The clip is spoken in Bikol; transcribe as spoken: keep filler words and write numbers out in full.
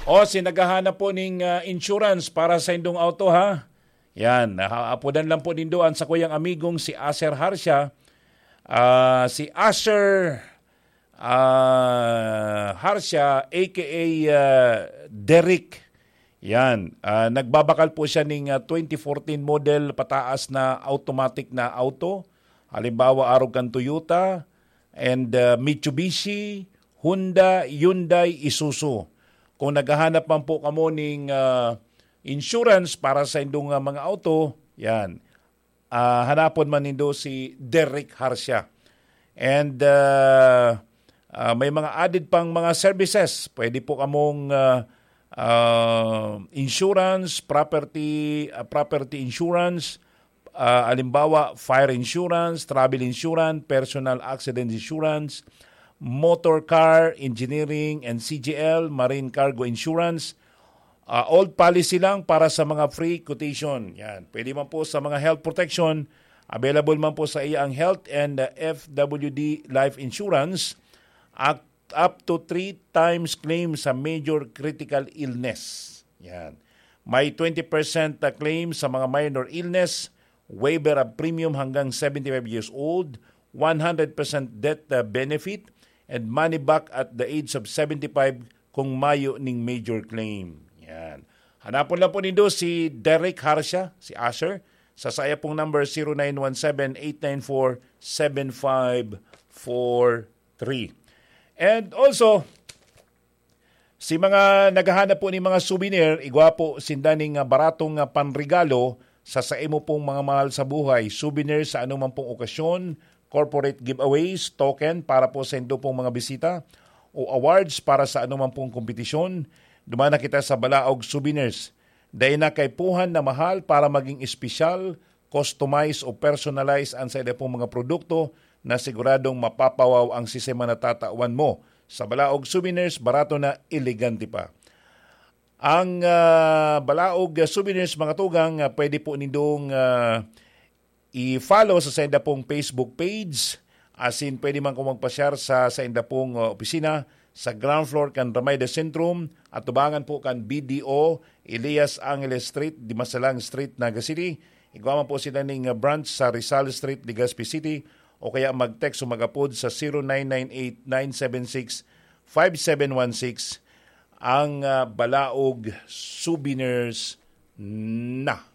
O, si naghahanap po ning, ah, insurance para sa indong auto, ha? Yan, ha, apodan lang po nindo ang sakuyang amigong si Aser Harsha. Ah, si Aser, ah, Harsha, A K A, ah, Derek. Yan, ah, nagbabakal po siya ning, ah, twenty fourteen model pataas na automatic na auto. Halimbawa, arog kan Toyota and, ah, Mitsubishi, Honda, Hyundai, Isuzu. Kung naghahanap man po kamo ning, ah, insurance para sa indong, ah, mga auto, yan. Ah, hanapon man nindo si Derek Harsha. And, ah, ah, may mga added pang mga services. Pwede po kamong, ah, ah, insurance, property, ah, property insurance, ah, halimbawa, fire insurance, travel insurance, personal accident insurance, motor car, engineering and C G L, marine cargo insurance, ah, old policy lang para sa mga free quotation. Yan. Pwede man po sa mga health protection, available man po sa iya ang health and, ah, F W D life insurance, at up to three times claim sa major critical illness. Yan. May twenty percent na claim sa mga minor illness, waiver of premium hanggang seventy-five years old, one hundred percent death, uh, benefit, and money back at the age of seventy-five kung mayo ning major claim. Yan. Hanapon lang po nindo si Derek Harsha, si Asher, sa saya pong number, zero nine one seven, eight nine four, seven five four three. And also, si mga naghahanap po ni mga souvenir, igwa po sinda ning, ah, baratong, ah, panregalo sa, sa imo pong mga mahal sa buhay. Souvenir sa anumang pong okasyon, corporate giveaways, token para po sa indo pong mga bisita, o awards para sa anumang pong kompetisyon. Duman na kita sa Balaog Souvenirs. Dai na kaipuhan na mahal para maging espesyal, customize o personalize ang saida pong mga produkto na siguradong mapapawaw ang sistema na tatawan mo. Sa Balaog Souvenirs, barato na, elegante pa. Ang, ah, Balaog Souvenirs, mga tugang, ah, pwede po nindong, ah, i-follow sa sainda pong Facebook page. Asin pwede man kung magpasyar sa sainda pong, ah, opisina sa ground floor kan Ramay de Centrum, atubangan po kan B D O, Elias Angeles Street, Dimasalang Street, Naga City. Igwa man po sila ning, ah, branch sa Rizal Street, Legazpi City, o kaya mag-text o mag-apod sa zero nine nine eight nine seven six five seven one six. Ang, ah, Balaog Souvenirs na.